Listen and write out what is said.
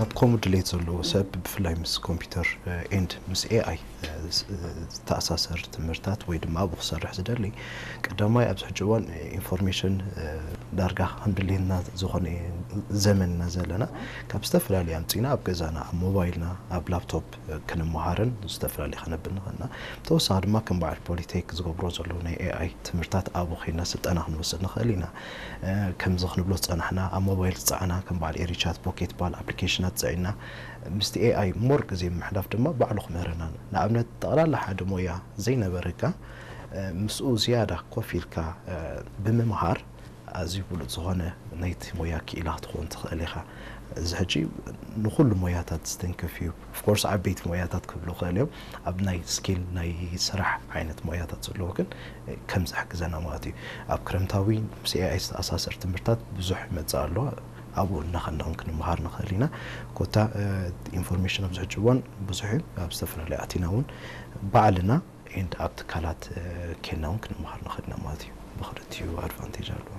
ኣብ ከምኡ ድሌት ዘለዎ ሰብ ብፍላይ ምስ ኮምፒውተር ኤንድ ምስ ኤኣይ ዝተኣሳሰር ትምህርታት ወይ ድማ ኣብኡ ክሰርሕ ዝደሊ ቀዳማይ ኣብዚ ሕጂ እዋን ኢንፎርሜሽን ዳርጋ ከም ድሌትና ዝኾነ ዘመንና ዘለና ካብ ዝተፈላለዩ ኣምፂና ኣብ ገዛና ኣብ ሞባይልና ኣብ ላፕቶፕ ክንመሃርን ዝተፈላለዩ ከነብል ንኽእልና ተወሳኺ ድማ ከም በዓል ፖሊቴክ ዝገብሮ ዘለዉ ናይ ኤኣይ ትምህርታት ኣብኡ ኮይና ስልጠና ክንወስድ ንኽእል ኢና። ከምዚ ክንብሎ ዝፀናሕና ኣብ ሞባይል ዝፀዓና ከም በዓል ኤሪቻት ፖኬት በዓል ኣፕሊኬሽናት ፀዒና ምስቲ ኤኣይ ሞር ግዜ ምሕላፍ ድማ ባዕሉ ክምህረና ንኣብነት ጠቕላላ ሓደ ሞያ ዘይነበረካ ምስኡ ዝያዳ ኮፍ ኢልካ ብምምሃር ኣዝዩ ብሉፅ ዝኾነ ናይቲ ሞያ ክኢላ ክትኸውን ትኽእል ኢኻ። እዚ ሕጂ ንኩሉ ሞያታት ዝትንክፍ እዩ። ኦፍኮርስ ዓበይቲ ሞያታት ክብሉ ክእል እዮም ኣብ ናይ ስኪል ናይ ስራሕ ዓይነት ሞያታት ዘለዎ ግን ከም ዝሕግዘና ማለት እዩ። ኣብ ክረምታዊ ምስ ኤኣይ ዝተኣሳሰር ትምህርታት ብዙሕ ይመፅእ ኣሎ። ኣብኡ እናኸናውን ክንመሃር ንኽእል ኢና። ኮታ ኢንፎርሜሽን ኣብዚ ሕጂ እዋን ብዙሕ እዩ። ኣብ ዝተፈላለዩ ኣቲና እውን ባዕልና ኤንድ ኣብ ትካላት ኬና እውን ክንመሃር ንኽእል ኢና ማለት እዩ። ብክልቲኡ ኣድቫንቴጅ ኣለዎ።